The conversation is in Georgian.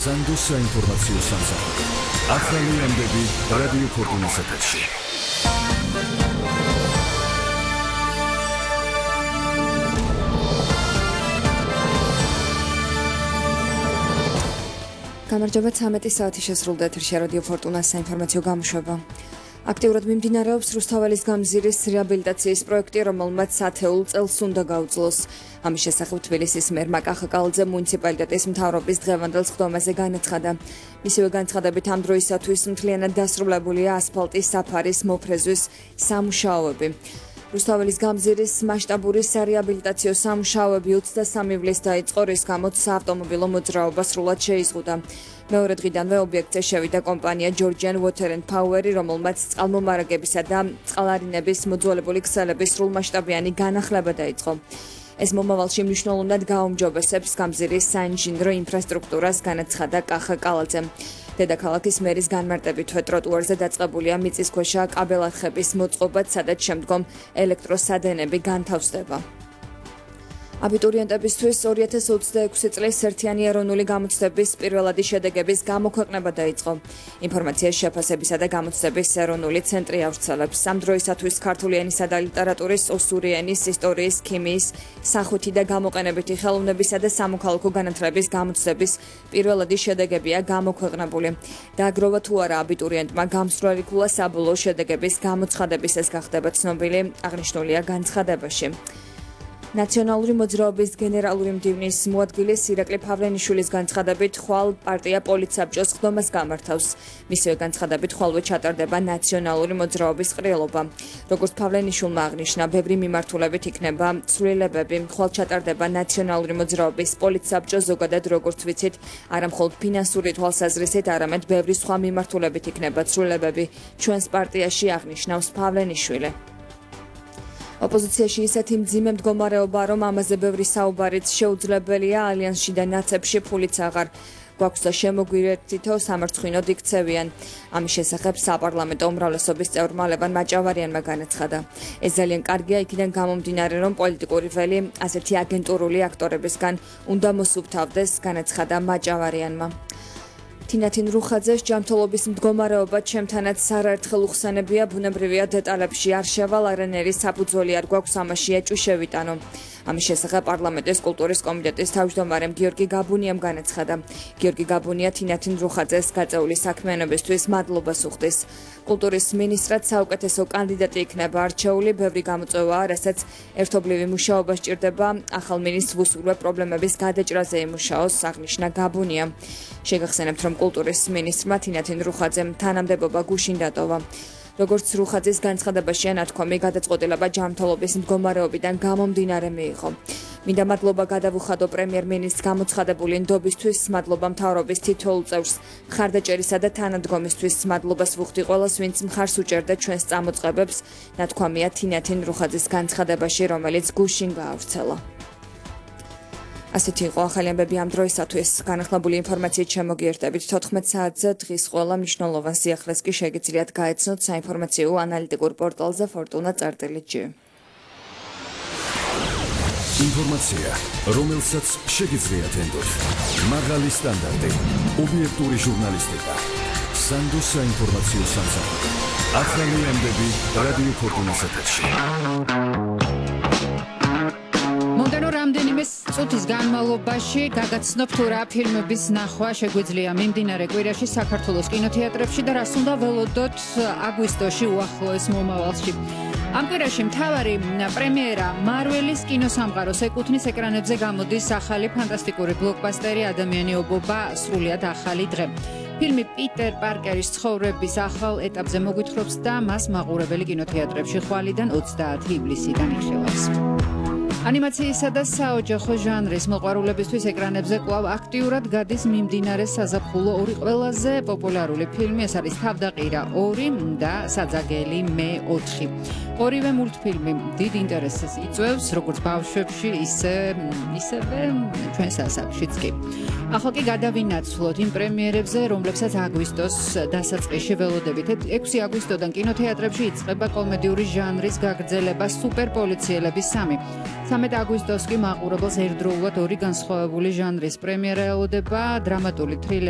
სანდოს საინფორმაციო სამსახური. ახალი ამბები რადიო ფორტუნის ეთერში. გამარჯობა 13 საათი შესრულდა ეთერში რადიო ფორტუნას საინფორმაციო გამოშვება. აქტიურად მიმდინარეობს რუსთაველის გამზირის რეაბილიტაციის პროექტი, რომელმაც 10 წელს უნდა გაუძლოს. ამის შესახებ თბილისის მერმა კახაკალაძე მუნიციპალიტეტის მთავრობის დღევანდელ სხდომაზე განაცხადა. მისივე განცხადებით ამ დროისათვის მთლიანად დასრულებულია ასფალტის საფარის მოფრეზვის სამუშაოები. რუსთაველის გამზირის მასშტაბური სარეაბილიტაციო სამუშაოები 23 ივლისს დაიწყო, რის გამოც საავტომობილო მოძრაობა სრულად შეიზღუდა. მეორე დღიდანვე ობიექტზე შევიდა კომპანია Georgian Water and Power, რომელმაც წყალმომარაგებისა და წყალარინების მოძველებული ქსელების სრულმასშტაბიანი განახლება დაიწყო. ეს მომავალში მნიშვნელოვნად გააუმჯობესებს გამზირის საინჟინრო ინფრასტრუქტურას, განაცხადა კახაკალაძემ. დედაქალაქის მერის განმარტებით ტროტუარზე დაწყებულია მიწისქვეშა კაბელარხების მოწყობა, სადაც შემდგომ ელექტროსადენები განთავსდება. აბიტურიენტებისთვის 2026 წლის ერთიანი ეროვნული გამოცდების პირველადი შედეგების გამოქვეყნება დაიწყო. ინფორმაციას შეფასებისა და გამოცდების ეროვნული ცენტრი ავრცელებს. ამ დროისათვის ქართული ენისა და ლიტერატურის, ოსური ენის, ისტორიის, ქიმიის, სახვითი და გამოყენებითი ხელოვნებისა და სამოქალაქო განათლების გამოცდების პირველადი შედეგებია გამოქვეყნებული. დააგროვა თუ არა აბიტურიენტმა გამსვლელი ქულა საბოლოო შედეგების გამოცხადების, ეს გახდება ცნობილი, აღნიშნულია განცხადებაში. ნაციონალური მოძრაობის გენერალური მდივნის მოადგილის ირაკლი ფავლენიშვილის განცხადებით, ხვალ პარტია პოლიტსაბჭოს სხდომას გამართავს. მისივე განცხადებით, ხვალვე ჩატარდება ნაციონალური მოძრაობის ყრილობა. როგორც ფავლენიშვილმა აღნიშნა, ბევრი მიმართულებით იქნება ცვლილებები. ხვალ ჩატარდება ნაციონალური მოძრაობის პოლიტსაბჭო, ზოგადად როგორც ვიცით, არა მხოლოდ ფინანსური თვალსაზრისით, არამედ ბევრი სხვა მიმართულებით იქნება ცვლილებები ჩვენს პარტიაში, აღნიშნავს ფავლენიშვილი. ოპოზიციაში ისეთი მძიმე მდგომარეობა, რომ ამაზე ბევრი საუბარიც შეუძლებელია, ალიანსში და ნაცებში ფულიც აღარ გვაქვს და შემოგვირეთითო სამარცხვინოდ იქცევიან. ამის შესახებ საპარლამენტო უმრავლესობის წევრმა ლევან მაჭავარიანმა განაცხადა. ეს ძალიან კარგია იქიდან გამომდინარე, რომ პოლიტიკური ველი ასეთი აგენტურული აქტორებისგან უნდა მოსუფთავდეს, განაცხადა მაჭავარიანმა. თინათინ რუხაძეს ჯანმრთელობის მდგომარეობა ჩემთანაც არაერთხელ უხსენებია, ბუნებრივია დეტალებში არ შევალ, არანაირი საფუძველი არ გვაქვს ამაში ეჭვი შევიტანო. ამის შესახებ პარლამენტის კულტურის კომიტეტის თავმჯდომარემ გიორგი გაბუნიამ განაცხადა. გიორგი გაბუნია თინათინ რუხაძეს გაწეული საქმიანობისთვის მადლობას უხდის. კულტურის მინისტრად საუკეთესო კანდიდატი იქნება არჩეული, ბევრი გამოწვევაა, რასაც ერთობლივი მუშაობა სჭირდება, ახალ მინისტრს ვუსურვებ პრობლემების გადაჭრაზე იმუშაოს, აღნიშნა გაბუნია. შეგახსენებთ, რომ კულტურის მინისტრმა თინათინ რუხაძემ თანამდებობა გუშინ დატოვა. როგორც რუხაძის განცხადებაში ანათქვამი გადაწყვეტილება ჯანმრთელობის მდგომარეობიდან გამომდინარე მიიღო. მინდა მადლობა გადავუხადო პრემიერ-მინისტრს გამოცხადებული ნდობისთვის, მადლობა მთავრობის თითოეულ წევრს, მხარდაჭერისა და თანადგომისთვის, მადლობას ვუხდი ყველას, ვინც მხარს უჭერდა ჩვენს წამოწყებებს, ნათქვამია თინათინ რუხაძის განცხადებაში, რომელიც გუშინ გაავრცელა. ასეთი იყო ახალი ამბები ამ დროისათვის. განახლებული ინფორმაციით შემოგიერთებით 14 საათზე, დღის ყველა მნიშვნელოვან სიახლეს კი შეგიძლიათ გაეცნოთ საინფორმაციო ანალიტიკურ პორტალზე fortuna.gt. ინფორმაცია, რომელსაც შეგიძლიათ ენდოთ. მაღალი სტანდარტი, ობიექტური ჟურნალისტიკა. სანდოს საინფორმაციო სამსახური. ახალი ამბები რადიო ფორტუნის ეთერში. მომდენო რამდენიმე წუთის განმავლობაში გაგაცნობთ თუ რა ფილმების ნახვა შეგვიძლია მიმდინარე კვირაში საქართველოს კინოთეატრებში და რას უნდა ველოდოთ აგვისტოში უახლოეს მომავალში. ამ კვირაში მთავარი პრემიერა მარველის კინოსამყაროს ეკუთვნის, ეკრანებზე გამოდის ახალი ფანტასტიკური ბლოკბასტერი ადამიანი ობობა სრულიად ახალი დღე. ფილმი პიტერ პარკერის ცხოვრების ახალ ეტაპზე მოგვითხრობს და მას მაყურებელი კინოთეატრებში ხვალიდან 30 ივლისიდან იხილავს. ანიმაციისა და საოჯახო ჟანრის მოყვარულებისთვის ეკრანებზე კვლავ აქტიურად გადის მიმდინარე საზაფხულო ორი ყველაზე პოპულარული ფილმი, ეს არის თავდაყირა 2 და საძაგელი მე 4. ორივე მულტფილმი დიდ ინტერესს იწვევს, როგორც ბავშვებში, ისევე ჩვენ სასახლეშიც კი. ახლა კი გადავინაცვლოთ იმ პრემიერებზე, რომლებსაც აგვისტოს დასაწყისში ველოდებით. 6 აგვისტოდან კინოთეატრებში იწყება კომედიური ჟანრის გაგრძელება სუპერპოლიციელების 3. 13 აგვისტოს კი მაყურებელს ერთდროულად ორი განსხვავებული ჟანრის პრემიერა ელოდება, დრამატული თრილერი